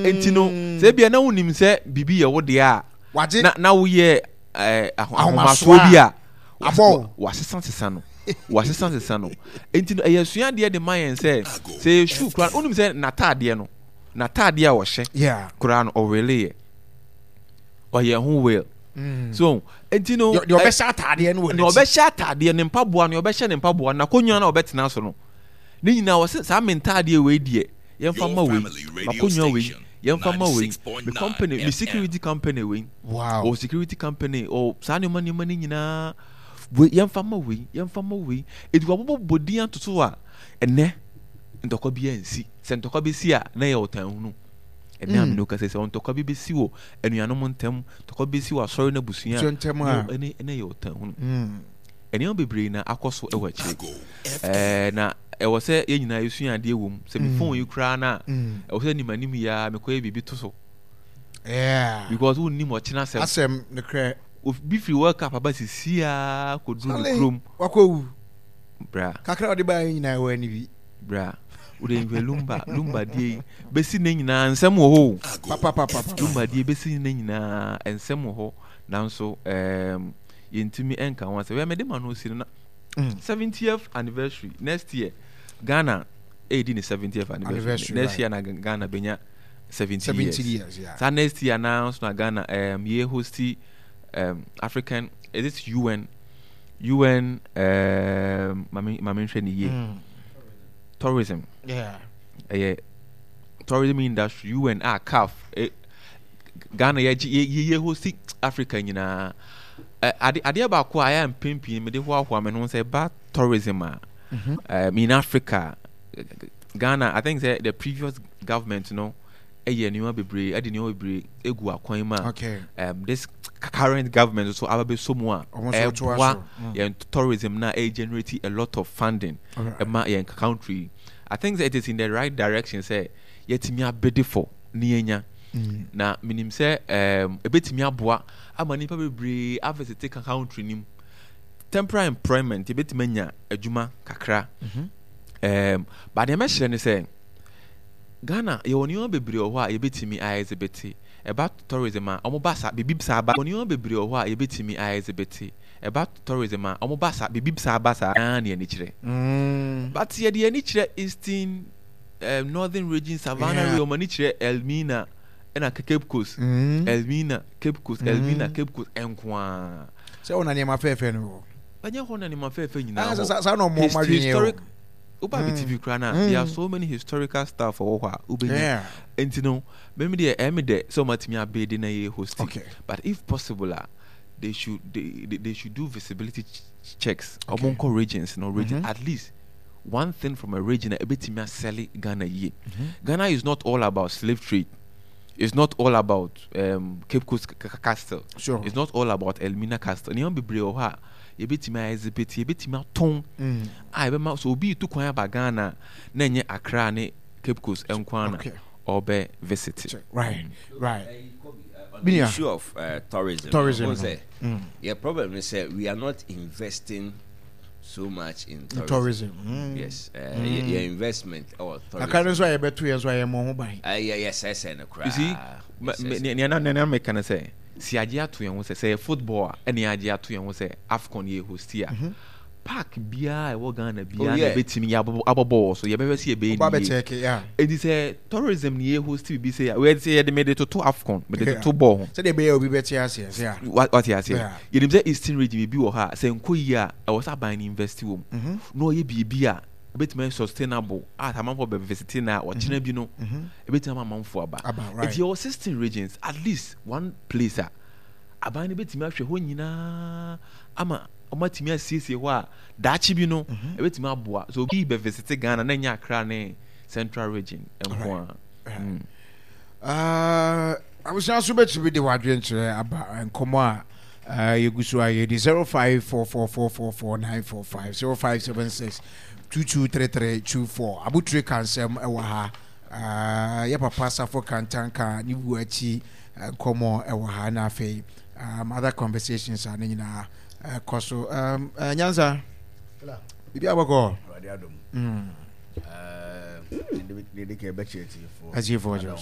Enti no, sɛ ebia na wonim sɛ biribi yɛ wo deɛ a, Wagye. na na woyɛ ɛɛ Ahomasoɔ ahomasoɔ bi a, Abɔ wo. wasesa sesa no. Wasesa sesa no. Enti no, ɛyɛ asuadeɛ de ma yɛn sɛ, sɛ yɛ shoe koraa, wonim sɛ n'ataadeɛ no, n'ataadeɛ a ɔhyɛ koraa no, ɔweleeɛ. Ɔyɛ ho will. So, enti no, Deɛ ɔbɛhyɛ ataadeɛ no wɔ nea n'akyi. ɔbɛhyɛ ataadeɛ, ne mpaboa, nea ɔbɛhyɛ ne mpaboa, n'akonnwa no a ɔbɛtena so no, ne nyinaa wɔse saa me ntaadeɛ wei deɛ yɛmfa Your ma wei, family radio m'akonnwa wei station, yɛmfa ma wei, me 96.9 company, me FM. security company wei, Wow. ɔwɔ security company, ɔwɔ saa nneɛma nneɛma no nyinaa wei yɛmfa ma wei, yɛmfa ma wei. Enti wɔabobɔ din ato so a ɛnnɛ ntɔkwa biara nsi. Sɛ ntɔkwa bɛsi a na ɛyɛ ɔtanhunu. Ɛnnɛ a me ne wo kasa yi, sɛ ntɔkwa bi bɛsi wɔ anuanom ntam, ntɔkwa bi bɛsi wɔ asɔre no abusua Abusua ntam a. ɛne ɛna ɛyɛ ɔtanhunu. Nneɛma bebree na akɔ so wɔ akyire. Ɛɛ na ɛwɔ sɛ yɛn nyinaa yɛsua adeɛ wɔ mu. Sɛ me phone yi koraa no a, ɛwɔ sɛ nim anim yi ara mekɔyɛ biribi to so. Yeah. Because wonnim ɔkyena asɛm. Asɛm nokorɛ. Obi firi World Cup aba sisi ara kɔduru ne kurom. Wakɔwu. Bra. Kakra a ɔde baeɛ nyinaa ɛwɔ ani bi. Bra. Wode nhwɛ Lumba, Lumba deɛ yi bɛsi nnɛ nyinaa nsɛm wɔ hɔ o. Papapapapa. Lumba deɛ bɛsi nnɛ nyinaa nsɛm wɔ hɔ nanso ɛɛm. Yɛntumi nka ho asɛm. Wɛ mede ma no si no na 70th anniversary next year Ghana ɛredi ne 70th anniversary next year na Ghana bɛnya 70 years. years yeah. Saa next year na nso na Ghana yɛ hosti African, is it UN UN mame mame nhwɛ ne yie tourism yeah ɛyɛ tourism industry UN a CAF eh, Ghana yɛgye yɛ yɛ hosti Africa nyinaa. Ɛ ade adeɛ baako a ayɛ a mpɛn pii mede hoahoa me ho sɛ ɛba tourism a in Africa Ghana I think sɛ the previous government no ɛyɛ nneɛma bebree ɛde nneɛma bebree egu akwan mu a okay. this current government nso aba bɛsɔ mu a ɛboa yɛn tourism na ɛyɛ generate a lot of funding ɛma yɛn country. I think sɛ it is in the right direction sɛ yɛatumi abede for ne yɛanya. Na menim sɛ um, ɛbɛtumi aboa ama nnipa bebree avisite country no mu. Temporary employment, yɛbɛtumi anya adwuma kakra. But deɛ mɛhyerɛ ne sɛ, Ghana yɛwɔ nneɛma bebree wɔ hɔ a yɛbɛtumi a exhibit. Ɛba tourism a, wɔn ba saa, biribi saa ba. Yɛwɔ nneɛma bebree wɔ hɔ a yɛbɛtumi a exhibit. Ɛba tourism a, wɔn ba saa, biribi saa ba saa na yɛn ani kyerɛ. But yɛde yɛn ani kyerɛ Eastern Northern Region, Savannah Region, wɔn ani kyerɛ Elmina ɛna Cape Coast, Elmina, Cape Coast, Elmina, Cape Coast nko ara. Sɛ wɔn na nneɛma fɛɛfɛ no wɔ. Ɛnyɛ hɔ na nneɛma fɛɛfɛ nyinaa wɔ. Saa na wɔn wɔn adwene yɛ historic. Woba bi TV koraa na there are so many historical stuff wɔ hɔ a wobɛnya. Nti no, mɛmi deɛ ɛyɛ mi dɛ sɛ wɔn atumi abɛɛdi na yɛ host. But if possible a, they should they should do visibility checks. Wɔn nkɔ regions no region at least. One thing from a region a ebetumi asɛle Ghana yie. Ghana is not all about slave trade. It's not all about Cape Coast Castle. Sure. It's not all about Elmina Castle. Nneɛma bebree wɔ hɔ a yɛbɛtumi a exhibit, yɛbɛtumi atɔn mm. a ɛbɛma so obi tu kwan aba Ghana na ɛnyɛ Accra ne Cape Coast nko ara na ɔbɛ visit. Right. On the issue of tourism, tourism. No. Say, yeah, problem is we are not investing so much in tourism. Tourism. Yes. Your investment or tourism. Akra nso a yɛbɛto yɛn nso a yɛmmɔ ho ban. Yɛ yɛ sɛsɛ no koraa. You see, nea na nea meka no sɛ si agye ato yɛn ho sɛ sɛ yɛ football a ɛne agye ato yɛn ho sɛ AFCON yɛ hosti a. Park biara a ɛwɔ Ghana biara na ɛbɛtumi yɛ abɔbɔ wɔ so yɛbɛhwɛ sɛ yɛbɛyɛ ne yie. Enti sɛ tourism ne yɛ hosti biribi sɛ yɛ sɛ yɛde mede toto AFCON mede toto bɔɔl ho. Sɛdeɛ ɛbɛyɛ obi bɛte aseɛ sɛ a. Wate aseɛ. Yɛnim sɛ Eastern region biribi wɔ hɔ a sɛ nkɔ yie a ɛwɔ sɛ aban no invest wɔ mu na ɔyɛ biribi a ɛbɛtumi ayɛ sustainable a sɛ amanfoɔ bɛ visit no a ɔkyena bi no ɛbɛtumi ama amanfoɔ aba. Enti yɛwɔ 16 regions at least one place a aban no bɛtumi ahwɛ hɔ nyinaa ama wɔatumi asiesie hɔ a daakye bi no ɛbɛtumi aboa. So obi bɛ visit Ghana na ɛnyɛ Accra ne Central region nko a. Abusua nso bɛtumi de w'adwenkyerɛ aba nkɔmmɔ a yɛgu so a yɛdi 0544444945 0576 223324 abotire ka nsɛm wɔ ha yɛ papa Safo Kantanka ne wu akyi nkɔmmɔ wɔ ha na afei other conversations a ne nyinaa kɔ so nyansa biribi abɔkɔ atiefoɔ.